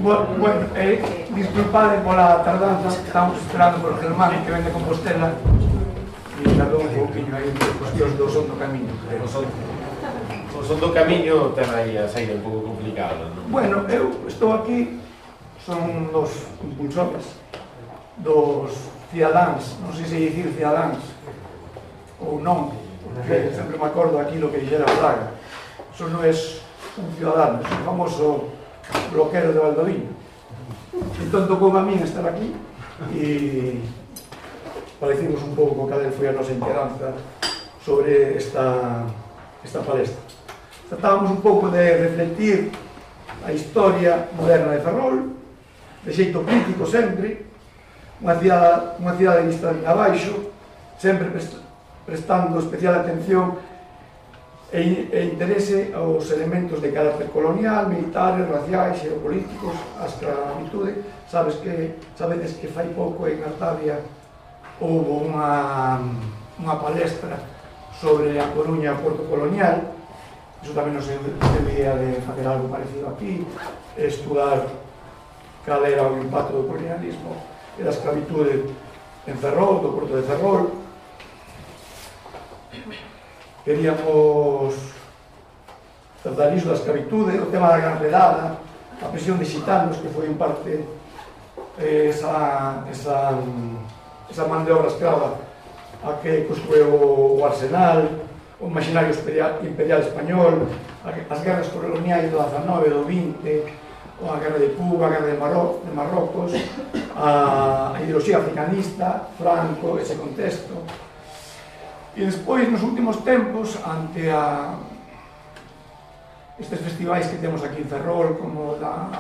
Bueno, disculpade pola tardanza, estamos esperando por Germán, que vende Compostela, e tardou un pouquinho aí por cuestións do son do camiño. O son do camiño ten aí a saída un pouco complicada, non? Bueno, eu estou aquí, son dos impulsores, dos cidadáns, non sei se dicir cidadáns ou non, porque sempre me acordo aquí lo que dixera Fraga. Eso non é un ciudadano, é un famoso bloquero de Valdoviño. Entón tocou a min estar aquí e parecimos un pouco cal foi a nosa inquedanza sobre esta palestra. Tratábamos un pouco de reflectir a historia moderna de Ferrol, de xeito crítico sempre, unha cidade vista de abaixo, sempre prestando especial atención e interese aos elementos de carácter colonial, militares, raciais, xeopolíticos, a esclavitude. Sabedes que fai pouco en Artavia houve unha palestra sobre a Coruña Porto Colonial. Iso tamén nos deu idea de facer algo parecido aquí, estudar cal era o impacto do colonialismo e da esclavitude en Ferrol, do Porto de Ferrol. Queríamos tratar iso da esclavitude, o tema da Gran Redada, a presión de xitanos, que foi en parte esa man de obra esclava a que construiu o Arsenal, o imaginario imperial español, as guerras coloniais do 19, do 20, a guerra de Cuba, a guerra de Marrocos, a ideoloxía africanista, Franco, ese contexto. E despois, nos últimos tempos, ante estes festivais que temos aquí en Ferrol, como da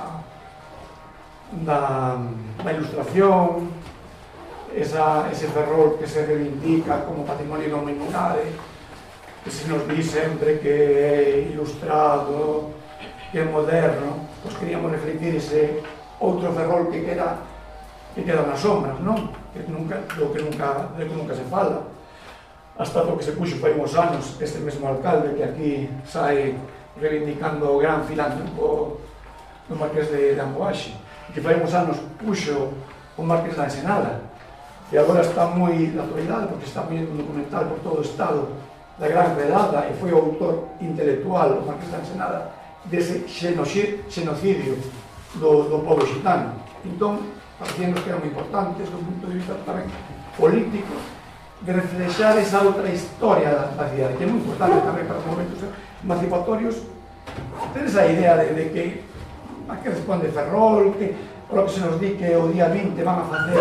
Ilustración, ese Ferrol que se reivindica como patrimonio da humanidade, que se nos di sempre que é ilustrado, que é moderno, pois queríamos reflectir ese outro Ferrol que queda nas sombras, non? Do que nunca se fala. Hasta o que se puxo fai uns anos este mesmo alcalde que aquí sai reivindicando o gran filántropo do Marqués de Amboaxe, que fai uns anos puxo o Marqués da Ensenada, e agora está moi na actualidade porque está vindo un documental por todo o estado da Gran Redada e foi o autor intelectual, o Marqués da Ensenada, dese xenocidio do povo xitano. Entón, parecíamos que eran moi importantes do punto de vista tamén político, de reflexar esa outra historia da cidade, que é moi importante tamén para os movimentos emancipatorios, ter esa idea de que a que responde Ferrol, que por lo que se nos di que o día 20 van a facer